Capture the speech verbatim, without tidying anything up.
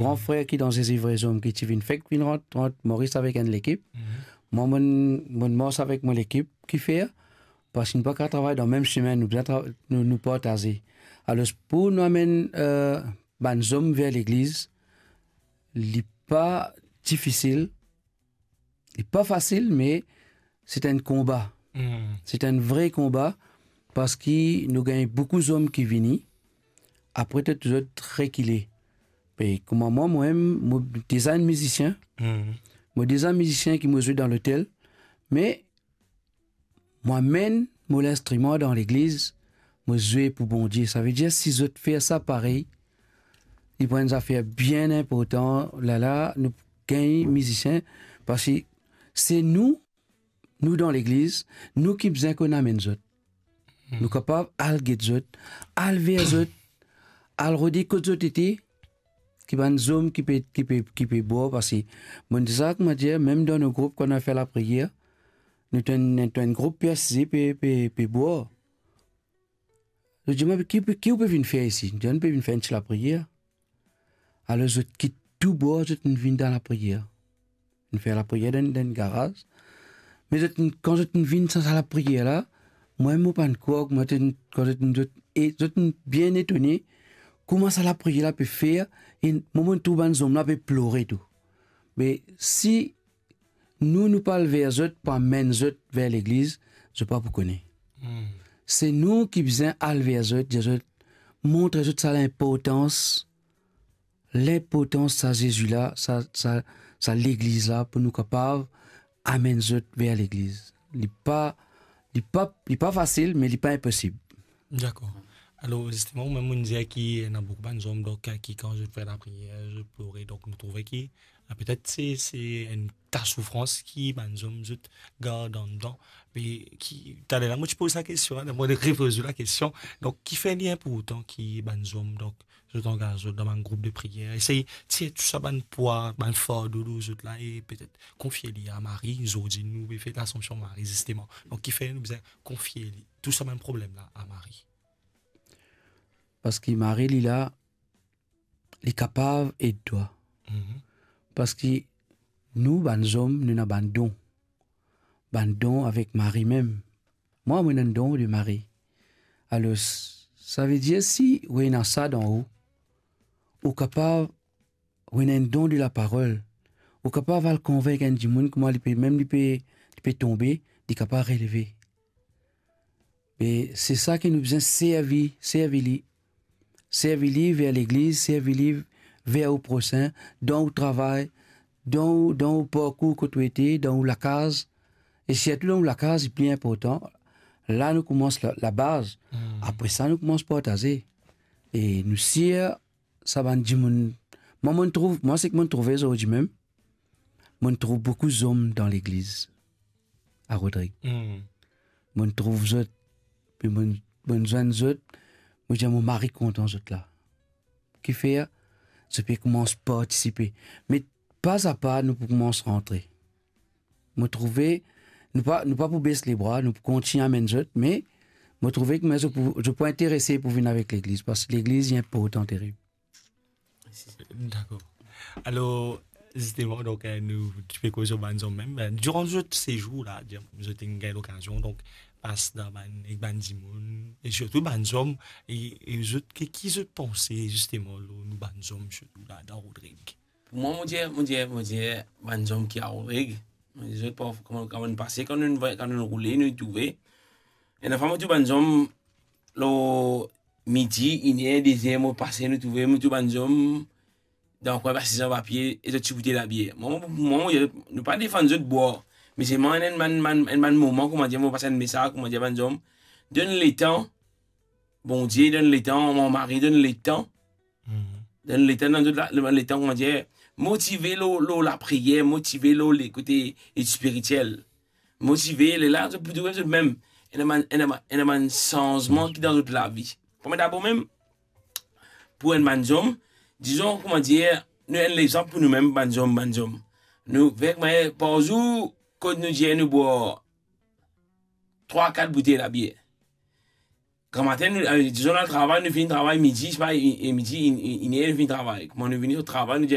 gran frer ki dan Zezi Vre Zom, ki ti vinn fek vinn rant, rant Moris avek enn lekip. Mhm. Mwa, mo, mo mars avek mo lekip. Kifer? Parski nou pa kapav travay dan mem semin, nou bizin tra-, nou, nou partaze. Alor, pou nou amenn, eh, bann zom ver legliz, li pa difisil, li pa fasil, me se enn konba. Hmm. Se enn vre konba, parski nou gagn boukou zom ki vini, apre zot, zot rekile. Be kouma mwa, mwa mem, mo deza enn mizisien. Hmm. Mo deza mizisien ki mo zwe dan lotel, me mo amenn mo linstriman dan legliz, mo zwe pou Bondie. Savedir, si zot fer sa parey, li pou enn zafer bien inportan. Lala, nou gagn mizisien, parski se nou, nou dan legliz, nou ki bizin konn amenn zot. Hmm. Nou kapav al get zot, al ver zot, al rode kot zot ete, ki bann zom ki pe, ki pe, ki pe bwar, parski bann deza, kouma dir, mem dan nou group, kan nou fer lapriyer, nou ena enn, nou ena enn group pe asize, pe, pe, pe bwar. Zot dir mwa, "Ki, ki ou pe vinn fer isi?" Mo dir, "Nou pe vinn fer enn ti lapriyer." Alor zot kit tou bwar, zot vinn dan lapriyer. Vinn fer lapriyer dan, dan garaz. Me zot, kan zot vinn sa, sa lapriyer la, mwa, mo pa'nn krwar, mwa, kan zot, zot, e zot bien etone kouma sa lapriyer la pe fer, e mwa, mo trouv bann zom la pe plore tou. Me si nou, nou pa al ver zot, pa amenn zot ver legliz, zot pa pou kone. Hmm. Se nou ki bizin al ver zot, dir zot, montre zot sa linportans, linportans sa Zezi la, sa, sa, sa legliz la, pou nou kapav amenn zot ver legliz. Li pa, li pa, li pa fasil, me li pa inposib. Dakor. Alor, zisteman, ou mem, ou dir ki ena boukou bann zom, donk, ki kan zot fer lapriyer, zot plore, donk nou trouve ki, ah, petet se, se enn ta soufrans ki bann zom zot gard andan. Me ki, taler la, mo ti poz sa kestion, la, mo repoz lakestion. Donk, kifer li inportan ki bann zom, donk, zot angaz zot dan bann group de priyer, esey tir tou sa bann pwa, bann fardo lor zot la, e petet konfie li a Mari. Zordi, nou pe fet Lasansion Mari, zisteman. Donk, kifer nou bizin konfie li tou sa bann problem la a Mari? Parski Mari, li la, li kapav ed twa. Mhm. Parski nou, bann zom, nou ena bann don. Bann don avek Mari mem. Mwa, mo ena enn don de Mari. Alor, savedir si ou ena sa dan ou, ou kapav, ou ena enn don de laparol, ou kapav al konvink enn dimoun, kouma li pe, mem li pe, li pe tonbe, li kapav releve. E se sa ki nou bizin servi, servi li. Servi li ver legliz, servi li ver ou prosin, dan ou travay, dan ou, dan ou parkour kot ou ete, dan ou lakaz. E sirtou dan ou lakaz, li pli inportan. La, nou koumans la, labaz. Hmm. Apre sa, nou koumans partaze. E nou sir sa bann dimoun. Mwa, mo'nn trouv, mwa, seki mo'nn trouve zordi mem, mo'nn trouv boukou zom dan legliz a Rodrig. Hmm. Mo'nn trouv zot, pe mo'nn, mo'nn zwenn zot, mo dir, mo mari kontan zot la. Kifer? Zot pe koumans partisipe. Me pa a pa, nou pou koumans rantre. Mo trouve, nou pa, nou pa pou bes lebra, nou pou kontign amenn zot, me mo trouve ki, me zot pou, zot pou interese pou vinn avek legliz, parski legliz, li inportan terib. Dakor. Alor, zisteman, donk, eh, nou ti pe koz lor bann zom mem. Eh, diran zot sezour la, dir, zot inn gagn lokazion, donk, pas dan bann, ek bann dimoun, e sirtou bann zom, e, e zot, ki, ki zot panse, zisteman, lor nou bann zom, sirtou la, dan Rodrig? Pou mwa, mo dir, mo dir, mo dir, bann zom ki a Rodrig, mo dir zot, pa, kouma, kouma nou pase, kan nou, kan nou roule, nou trouve, ena fwa mo trouv bann zom, lor midi, iner, dezer, mo pase, nou trouve, mo trouv bann zom dan kwin, asize anba pie, e zot ti boute labier. Mwa, mwa, mwa, nou pa defann zot bwar. Me selman, enn bann, bann, enn bann moman, kouma dir, mo pas enn mesaz, kouma dir, bann zom, donn letan, Bondie donn letan, mo mari donn letan. Mhm. Donn letan, donn zot la, letan, kouma dir, motive lor, lor lapriyer, motive lor lekote spiritiel. Motive, lerla, zot pou trouve zot mem, ena bann, ena bann, ena bann sanzman ki dan zot lavi. Premie dabor mem, pou enn bann zom, dizon, kouma dir, nou enn lexanp pou nou mem, bann zom, bann zom. Nou, ver, me par zour, kot nou dir nou bwar trwa, kat boutey labier. Gramatin, nou, eh, dizon, nou al travay, nou fini travay midi, sepa, e, e midi, in, in, iner, nou fini travay. Kouma nou vini sot travay, nou dir,